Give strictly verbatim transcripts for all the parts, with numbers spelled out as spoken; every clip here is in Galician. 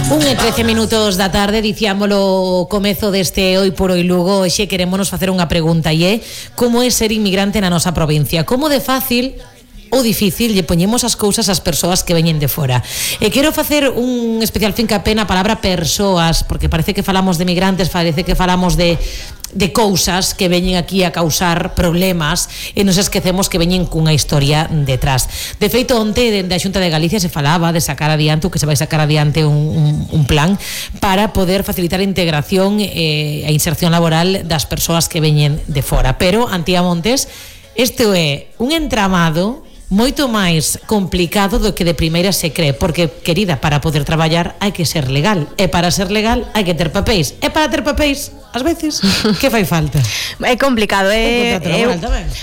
Un e trece minutos da tarde, diciámolo o comezo deste Hoy por Hoy Lugo. Hoxe querémonos facer unha pregunta e é: como é ser inmigrante na nosa provincia? Como de fácil ou difícil lle poñemos as cousas ás persoas que veñen de fora? E quero facer un especial fincapé na palabra persoas, porque parece que falamos de migrantes, parece que falamos de de cousas que veñen aquí a causar problemas e nos esquecemos que veñen cunha historia detrás. De feito, onte dende a Xunta de Galicia se falaba de sacar adiante, o que se vai sacar adiante un, un, un plan para poder facilitar a integración e a inserción laboral das persoas que veñen de fora. Pero, Antía Montes, este é un entramado moito máis complicado do que de primeira se cree, porque, querida, para poder traballar hai que ser legal, e para ser legal hai que ter papéis, e para ter papéis ás veces, que fai falta? É complicado, é, é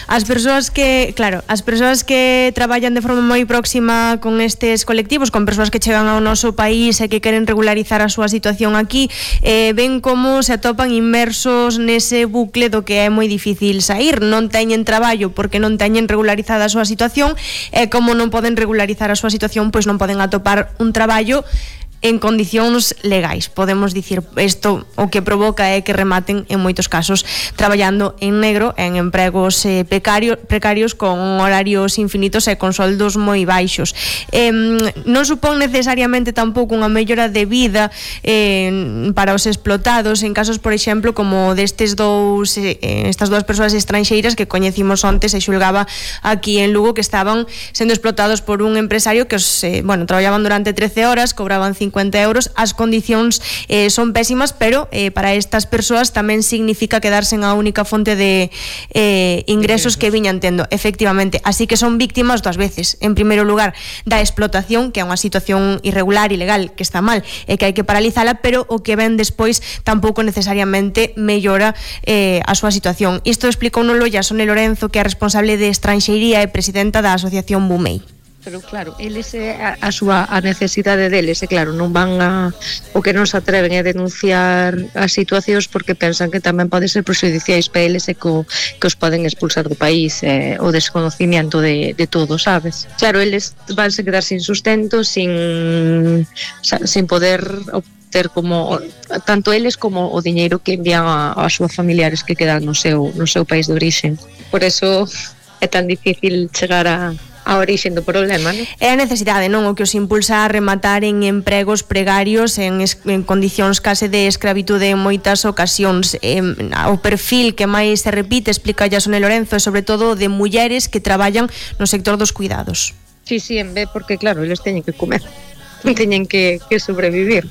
as persoas que, claro, as persoas que traballan de forma moi próxima con estes colectivos, con persoas que chegan ao noso país e que queren regularizar a súa situación aquí, eh, ven como se atopan inmersos nese bucle do que é moi difícil sair, non teñen traballo porque non teñen regularizada a súa situación, e como non poden regularizar a súa situación, pois non poden atopar un traballo en condicións legais. Podemos dicir, isto o que provoca é que rematen en moitos casos traballando en negro, en empregos eh, precarios, precarios con horarios infinitos e con soldos moi baixos. Eh, non supón necesariamente tampouco unha mellora de vida eh, para os explotados en casos, por exemplo, como destes dous eh, estas dúas persoas estranxeiras que coñecimos onte, se xulgaba aquí en Lugo, que estaban sendo explotados por un empresario que os, eh, bueno, traballaban durante trece horas, cobraban cincuenta euros, as condicións eh, son pésimas, pero eh, para estas persoas tamén significa quedarse en a única fonte de eh, ingresos que viñan tendo, efectivamente. Así que son víctimas dúas veces. En primeiro lugar, da explotación, que é unha situación irregular, ilegal, que está mal e que hai que paralizala, pero o que ven despois tampouco necesariamente mellora eh, a súa situación. Isto explicounoslo Yasone Lorenzo, que é responsable de estranxeiría e presidenta da asociación Bumei. Pero claro, eles é a, a súa a necesidade deles, e claro, non van a o que non se atreven a denunciar as situacións porque pensan que tamén pode ser prexudiciais para eles e co, que os poden expulsar do país, eh, o desconocimiento de, de todo, sabes? Claro, eles vanse quedar sin sustento, sin sin poder ter como tanto eles como o diñeiro que envían a, a súas familiares que quedan no seu no seu país de orixe. Por eso é tan difícil chegar a a orixe do problema, non? É a necesidade, non? O que os impulsa a rematar en empregos precarios, en, en condicións case de escravitude en moitas ocasións. Eh, o perfil que máis se repite, explica Yasone Lorenzo, é sobre todo de mulleres que traballan no sector dos cuidados. Sí, sí, en vez, porque claro, eles teñen que comer, teñen que, que sobrevivir.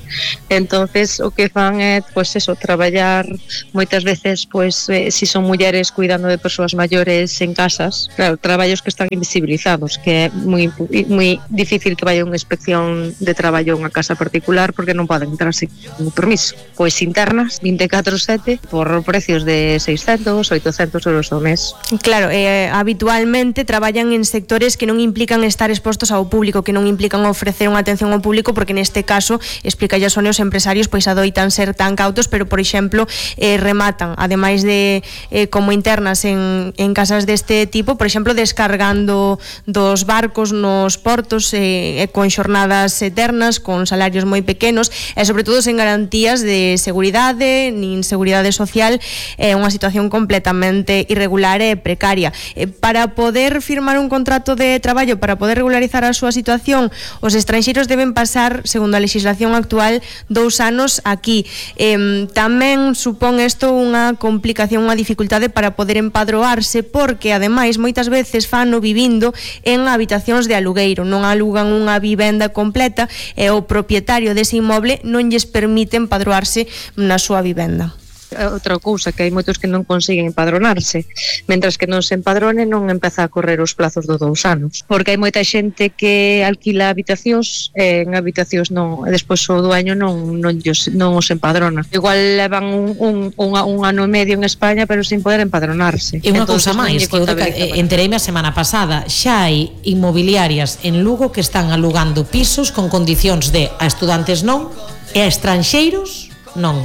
Entonces o que fan é, pois eso, traballar moitas veces, pois eh, si son mulleres cuidando de persoas maiores en casas, claro, traballos que están invisibilizados, que é moi moi difícil que vaya unha inspección de traballo a unha casa particular porque non poden entrar sin permiso. Pois internas vinte e catro sete por precios de seiscentos, oitocentos euros ao mes. Claro, eh, habitualmente traballan en sectores que non implican estar expostos ao público, que non implican ofrecer unha atención ao público, porque neste caso, explica Yasone, os empresarios pois adoitan ser tan cautos, pero por exemplo eh, rematan, ademais de eh, como internas en, en casas deste tipo, por exemplo descargando dos barcos nos portos eh, con xornadas eternas, con salarios moi pequenos e sobre todo sen garantías de seguridade nin seguridade social, é eh, unha situación completamente irregular e precaria. Eh, para poder firmar un contrato de traballo, para poder regularizar a súa situación, os estranxeiros deben pasar, segundo a legislación actual, dous anos aquí. Eh, tamén supón isto unha complicación, unha dificultade para poder empadroarse, porque ademais moitas veces fano vivindo en habitacións de alugueiro, non alugan unha vivenda completa e o propietario dese inmoble non lles permite empadroarse na súa vivenda. Outra cousa, que hai moitos que non consiguen empadronarse, mentras que non se empadrone non empeza a correr os plazos dos dous anos, porque hai moita xente que alquila habitacións e en habitacións non, e despois o dueño non, non, non os empadrona. Igual levan un, un, un, un ano e medio en España pero sin poder empadronarse. E unha cousa máis, que eu entereime a semana pasada, xa hai inmobiliarias en Lugo que están alugando pisos con condicións de a estudantes non e a estranxeiros non.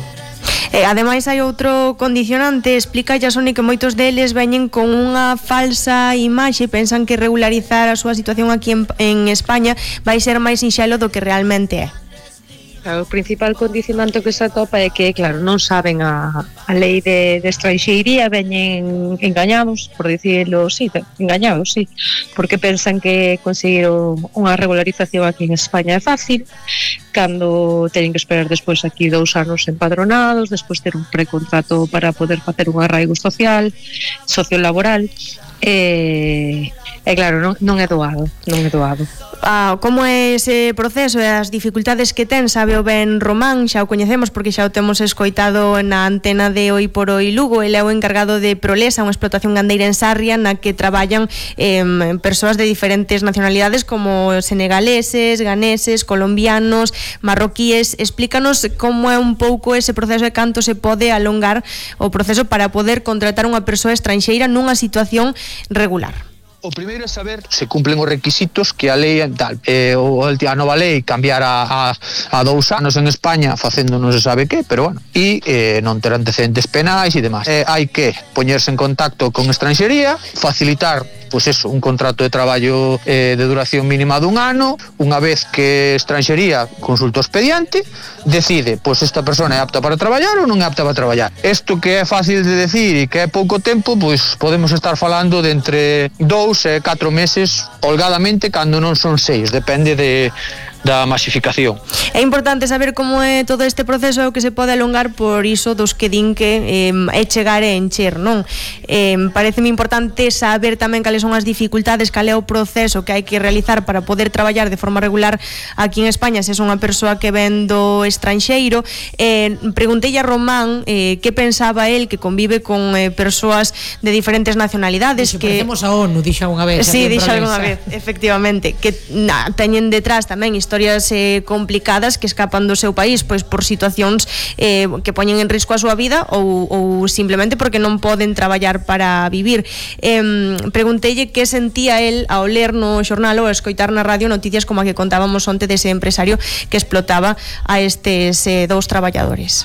Eh, ademais hai outro condicionante, explica Yasone que moitos deles veñen con unha falsa imaxe, pensan que regularizar a súa situación aquí en, en España vai ser máis sinxelo do que realmente é. Claro, o principal condicionante que se atopa é que, claro, non saben a, a lei de, de estranxeiría, veñen engañados, por dicirlo, sí, engañados, sí, porque pensan que conseguir unha regularización aquí en España é fácil, cando teñen que esperar despois aquí dous anos empadronados, despois ter un precontrato para poder facer un arraigo social, sociolaboral, e, e claro, non, non é doado, non é doado. Ah, como é ese proceso e as dificultades que ten, sabe o ben Román, xa o coñecemos porque xa o temos escoitado na antena de Hoy por Hoy Lugo. Ele é o encargado de Prolesa, unha explotación gandeira en Sarria na que traballan eh, persoas de diferentes nacionalidades como senegaleses, ganeses, colombianos, marroquíes. Explícanos como é un pouco ese proceso e canto se pode alongar o proceso para poder contratar unha persoa estranxeira nunha situación regular. O primeiro é saber se cumplen os requisitos que a lei tal. Eh, o, a nova lei cambiar a, a, a dous anos en España facendo non se sabe que, pero bueno, e eh, non ter antecedentes penais e demás. Eh, hai que poñerse en contacto con estranxería, facilitar pois eso, un contrato de traballo eh, de duración mínima dun ano. Unha vez que estranxería consulta o expediente, decide, pois esta persona é apta para traballar ou non é apta para traballar. Isto que é fácil de decir e que é pouco tempo, pois podemos estar falando de entre dous e catro meses, holgadamente, cando non son seis, depende de da masificación. É importante saber como é todo este proceso e o que se pode alongar, por iso dos que din que eh, é chegar e encher, non? Eh, pareceme importante saber tamén cales son as dificultades, cal é o proceso que hai que realizar para poder traballar de forma regular aquí en España se é unha persoa que ven do estranxeiro. Eh, preguntei a Román eh, que pensaba el que convive con eh, persoas de diferentes nacionalidades. Dixo, que parecemos a ONU, dixo unha vez. Sí, dixo unha vez, efectivamente, que na, teñen detrás tamén historias eh, complicadas que escapan do seu país pois por situacións eh, que poñen en risco a súa vida ou, ou simplemente porque non poden traballar para vivir. Eh, pregunteille que sentía el ao ler no xornal ou a escoitar na radio noticias como a que contábamos onte dese empresario que explotaba a estes eh, dous traballadores.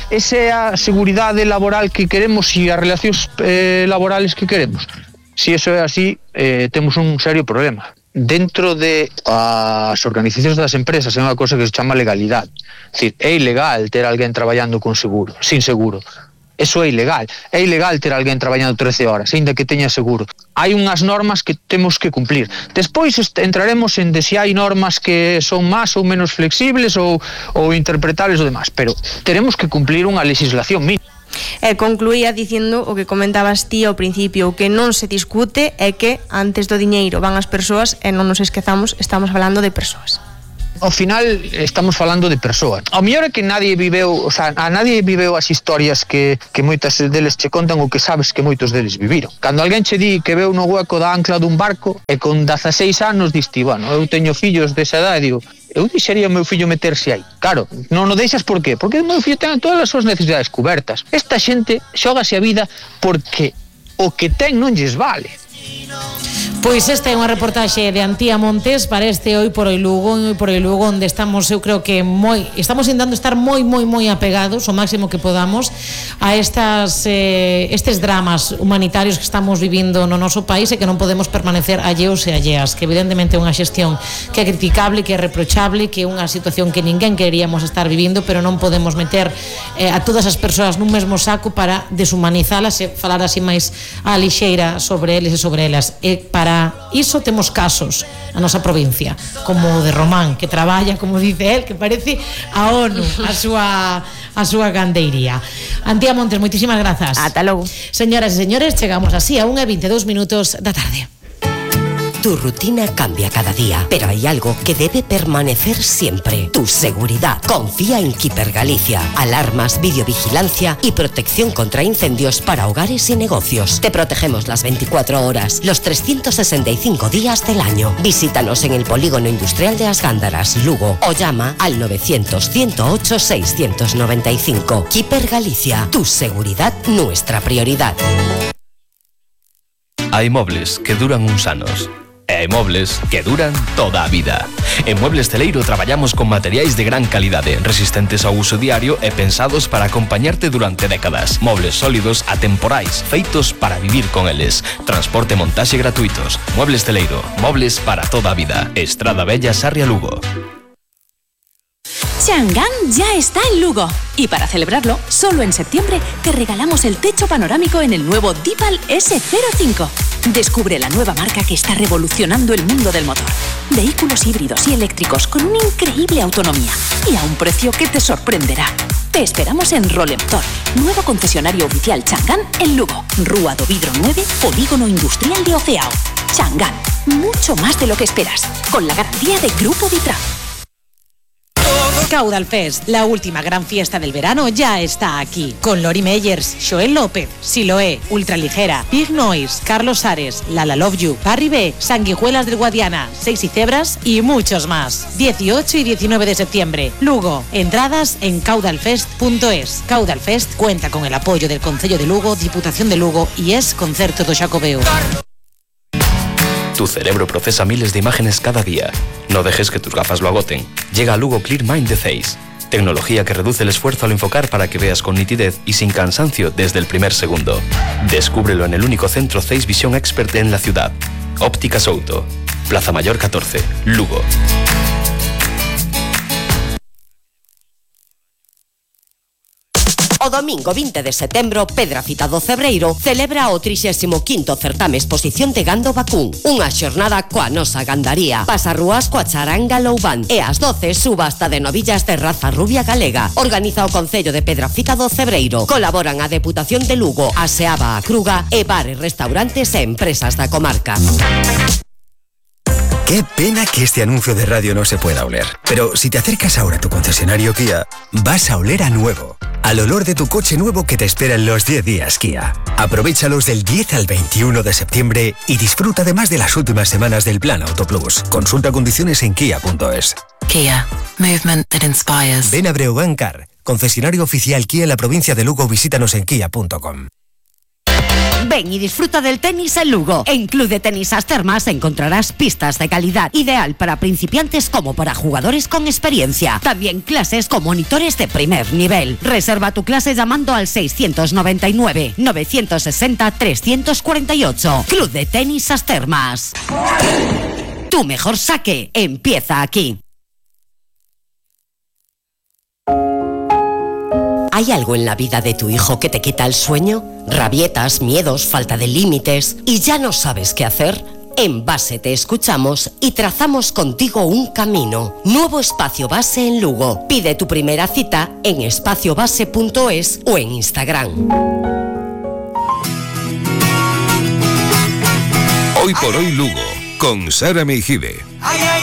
Esa é a seguridade laboral que queremos e as relacións eh, laborales que queremos. Se iso é así, eh, temos un serio problema. Dentro de as organizacións das empresas é unha cosa que se chama legalidade. É dicir, é ilegal ter alguén traballando con seguro, sin seguro. Eso é ilegal. É ilegal ter alguén traballando trece horas, aínda que teña seguro. Hai unhas normas que temos que cumplir. Despois entraremos en de se hai normas que son máis ou menos flexibles ou, ou interpretables ou demás, pero teremos que cumplir unha legislación mínima. E concluía dicindo o que comentabas ti ao principio, o que non se discute é que antes do diñeiro van as persoas e non nos esquezamos, estamos falando de persoas. Ao final estamos falando de persoas. Ao mellor é que nadie viveu, o sea, a nadie viveu as historias que, que moitas deles che contan ou que sabes que moitos deles viviron. Cando alguén che di que veu no hueco da ancla dun barco e con dezaseis anos diste, bueno, eu teño fillos desa edad e digo, eu deixaría o meu fillo meterse aí. Claro, non o deixas por qué? Porque o meu fillo ten todas as súas necesidades cubertas. Esta xente xógase a vida porque o que ten non lles vale. Pois esta é unha reportaxe de Antía Montes para este Hoy por Hoy Lugo, Hoy por Hoy Lugo, onde estamos, eu creo que moi, estamos intentando estar moi, moi, moi apegados o máximo que podamos a estas eh, estes dramas humanitarios que estamos vivindo no noso país e que non podemos permanecer alleos e alleas, que evidentemente é unha xestión que é criticable, que é reprochable, que é unha situación que ninguén queríamos estar vivindo, pero non podemos meter eh, a todas as persoas nun mesmo saco para deshumanizalas e falar así máis a lixeira sobre eles e sobre elas. E para iso temos casos na nosa provincia, como o de Román, que traballa, como dice él, que parece a ONU, a súa a súa gandeiría. Antía Montes, moitísimas grazas. Ata logo. Señoras e señores, chegamos así a unha e veintidós minutos da tarde. Tu rutina cambia cada día, pero hay algo que debe permanecer siempre: tu seguridad. Confía en Keeper Galicia. Alarmas, videovigilancia y protección contra incendios para hogares y negocios. Te protegemos las veinticuatro horas, los trescientos sesenta y cinco días del año. Visítanos en el Polígono Industrial de As Gándaras, Lugo, o llama al novecientos, ciento ocho, seiscientos noventa y cinco. Keeper Galicia. Tu seguridad, nuestra prioridad. Hai mobles que duran uns anos e hai mobles que duran toda a vida. En Muebles Celeiro traballamos con materiais de gran calidade, resistentes ao uso diario e pensados para acompañarte durante décadas. Mobles sólidos, atemporais, feitos para vivir con eles. Transporte e montaxe gratuitos. Muebles Celeiro, mobles para toda a vida. Estrada Bella, Sarria, Lugo. Chang'an ya está en Lugo. Y para celebrarlo, solo en septiembre te regalamos el techo panorámico en el nuevo Dipal ese cero cinco. Descubre la nueva marca que está revolucionando el mundo del motor. Vehículos híbridos y eléctricos con una increíble autonomía y a un precio que te sorprenderá. Te esperamos en Rolemotor, nuevo concesionario oficial Chang'an en Lugo. Rúa do Vidro nueve, Polígono Industrial de Oceao. Chang'an, mucho más de lo que esperas, con la garantía de Grupo Vitra. Caudal Fest, la última gran fiesta del verano, ya está aquí. Con Lori Meyers, Joel López, Siloé, Ultraligera, Big Noise, Carlos Ares, Lala Love You, Barry B, Sanguijuelas del Guadiana, Seis y Cebras y muchos más. dieciocho y diecinueve de septiembre, Lugo. Entradas en caudalfest punto es. Caudal Fest cuenta con el apoyo del Concello de Lugo, Diputación de Lugo y es Concerto do Xacobeo. Tu cerebro procesa miles de imágenes cada día. No dejes que tus gafas lo agoten. Llega a Lugo Clear Mind de Zeiss. Tecnología que reduce el esfuerzo al enfocar para que veas con nitidez y sin cansancio desde el primer segundo. Descúbrelo en el único centro Zeiss Vision Expert en la ciudad. Óptica Souto. Plaza Mayor catorce, Lugo. O domingo vinte de setembro, Pedrafita do Cebreiro celebra o trixésimo quinto certame exposición de gando vacún. Unha xornada coa nosa gandaría. Pasarrúas coa charanga Loubán e ás doce subasta de novillas de raza rubia galega. Organiza o Concello de Pedrafita do Cebreiro. Colaboran a Deputación de Lugo, a Seaba a Cruga e bares, restaurantes e empresas da comarca. Qué pena que este anuncio de radio no se pueda oler. Pero si te acercas ahora a tu concesionario Kia, vas a oler a nuevo. Al olor de tu coche nuevo que te espera en los diez días Kia. Aprovéchalos del diez al veintiuno de septiembre y disfruta además de las últimas semanas del Plan Auto Plus. Consulta condiciones en kia punto es. Kia. Movement that inspires. Ven a Breogán Car, concesionario oficial Kia en la provincia de Lugo. Visítanos en kia punto com. Ven y disfruta del tenis en Lugo. En Club de Tenis As Termas encontrarás pistas de calidad, ideal para principiantes como para jugadores con experiencia. También clases con monitores de primer nivel. Reserva tu clase llamando al seiscientos noventa y nueve, novecientos sesenta, trescientos cuarenta y ocho. Club de Tenis As Termas. Tu mejor saque empieza aquí. ¿Hay algo en la vida de tu hijo que te quita el sueño? ¿Rabietas, miedos, falta de límites y ya no sabes qué hacer? En Base te escuchamos y trazamos contigo un camino. Nuevo espacio Base en Lugo. Pide tu primera cita en espacio base punto es o en Instagram. Hoy por hoy Lugo, con Sara Meijide. Ay, ay.